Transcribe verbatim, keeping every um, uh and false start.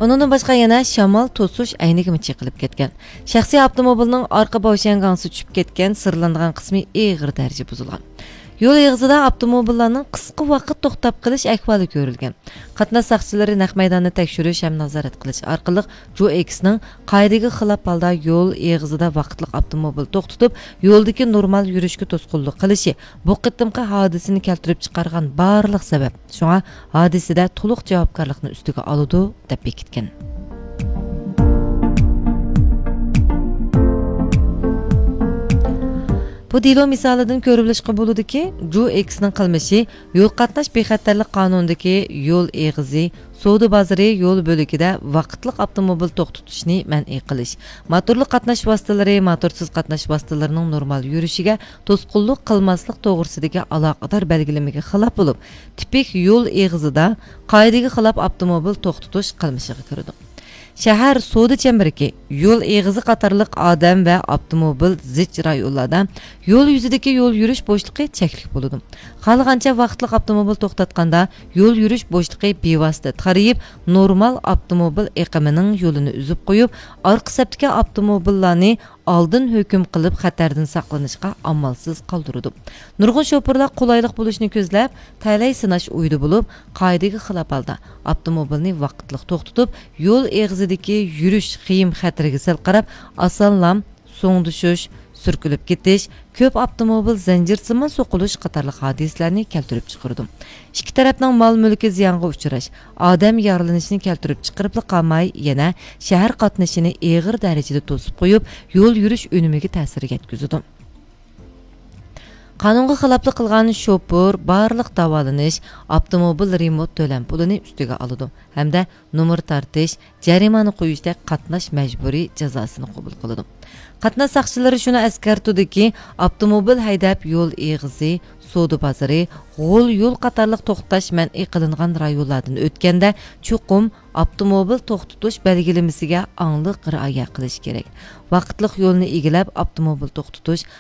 ئۇنىڭدىن باشقا يەنە شامال توسۇش ئەينىكىمۇ چېقىلىپ كەتكەن. شەخسىي ئاپتوموبىلنىڭ ئارقا باۋشيەنگاڭسى چۈشۈپ كەتكەن، سىرلانغان قىسمى ئېغىر دەرىجىدە بۇزۇلغان. يول ئېغىزىدا ئاپتوموبىللارنىڭ قىسقا ۋاقىت توختاپ قېلىش ئەھۋالى كۆرۈلگەن. قاتناش ساقچىلىرى نەق مەيداننى تەكشۈرۈش ھەم نازارەت قىلىش ئارقىلىق، جۇ ئېكسنىڭ قائىدىگە خىلاپ ھالدا يول ئېغىزىدا ۋاقىتلىق ئاپتوموبىل توختىتىپ، يولدىكى نورمال يۈرۈشكە توسقۇنلۇق قىلىشى بۇ قېتىمقى ھادىسىنى كەلتۈرۈپ چىقارغان بارلىق سەۋەب. شۇڭا ھادىسىدە تولۇق جاۋابكارلىقنى ئۈستىگە ئالىدۇ، دەپ بېكىتكەن. بۇ دېلو مىسالىدىن كۆرۈۋېلىشقا بولىدۇكى، جۇ ئېكسنىڭ قىلمىشى يول قاتناش بىخەتەرلىك قانۇنىدىكى يول ئېغىزى، سودا بازىرى يول بۆلىكىدە ۋاقىتلىق ئاپتوموبىل توختىتىشنى مەنئى قىلىش، موتورلۇق قاتناش ۋاسىتىلىرى، موتورسىز قاتناش ۋاسىتىلىرىنىڭ نورمال يۈرۈشىگە توسقۇنلۇق قىلماسلىق توغرىسىدىكى ئالاقىدار بەلگىلىمىگە خىلاپ بولۇپ، تىپىك يول ئېغىزىدا قائىدىگە خىلاپ ئاپتوموبىل توختىتىش قىلمىشىغا كىرىدۇ. شەھەر سودا چەمبىرىكى، يول ئېغىزى قاتارلىق ئادەم ۋە ئاپتوموبىل زىچ رايونلاردا يول يۈزىدىكى يول يۈرۈش بوشلۇقى چەكلىك بولىدۇ. خالىغانچە ۋاقىتلىق ئاپتوموبىل توختاتقاندا، يول يۈرۈش بوشلۇقى بىۋاسىتە تارىيىپ، نورمال ئاپتوموبىل ئېقىمىنىڭ يولىنى ئۈزۈپ قويۇپ، ئارقا سەپتىكى ئاپتوموبىللارنى ئالدىن ھۆكۈم قىلىپ، خەتەردىن ساقلىنىشقا ئامالسىز قالدۇرىدۇ. نۇرغۇن شوپۇرلار قولايلىق بولۇشنى كۆزلەپ، تەلەي سىناش ئويىدا بولۇپ، قائىدىگە خىلاپ ھالدا ئاپتوموبىلنى ۋاقىتلىق توختىتىپ، يول ئېغىزىدىكى يۈرۈش خېيىم خەتىرىگە سەل قاراپ، ئاسانلا سوڭدىشىش، سۈركىلىپ كېتىش، كۆپ ئاپتوموبىل زەنجىرسىمان سوقۇلۇش قاتارلىق ھادىسىلەرنى كەلتۈرۈپ چىقىرىدۇ. ئىككى تەرەپنىڭ مال مۈلكى زىيانغا ئۇچراش، ئادەم يارىلىنىشىنى كەلتۈرۈپ چىقىرىپلا قالماي، يەنە شەھەر قاتنىشىنى ئېغىر دەرىجىدە توسۇپ قويۇپ، يول يۈرۈش ئۈنۈمىگە تەسىر يەتكۈزىدۇ. قانۇنغا خىلاپلىق قىلغان شوپۇر بارلىق داۋالىنىش، ئاپتوموبىل رېمونت تۆلەم پۇلىنى ئۈستىگە ئالىدۇ ھەمدە نومۇر تارتىش، جەرىمانە قويۇشتەك قاتناش مەجبۇرىي جازاسىنى قوبۇل قىلىدۇ. قاتناش ساقچىلىرى شۇنى ئەسكەرتىدۇكى، ئاپتوموبىل ھەيدەپ يول ئېغىزى، سودا بازىرى، غول يول قاتارلىق توختاش مەنئى قىلىنغان رايونلاردىن ئۆتكەندە، چوقۇم ئاپتوموبىل توختىتىش بەلگىلىمىسىگە ئاڭلىق رىئايە قىلىش كېرەك. ۋاقىتلىق يولنى ئىگىلەپ، ئاپتوموبىل توختىتىش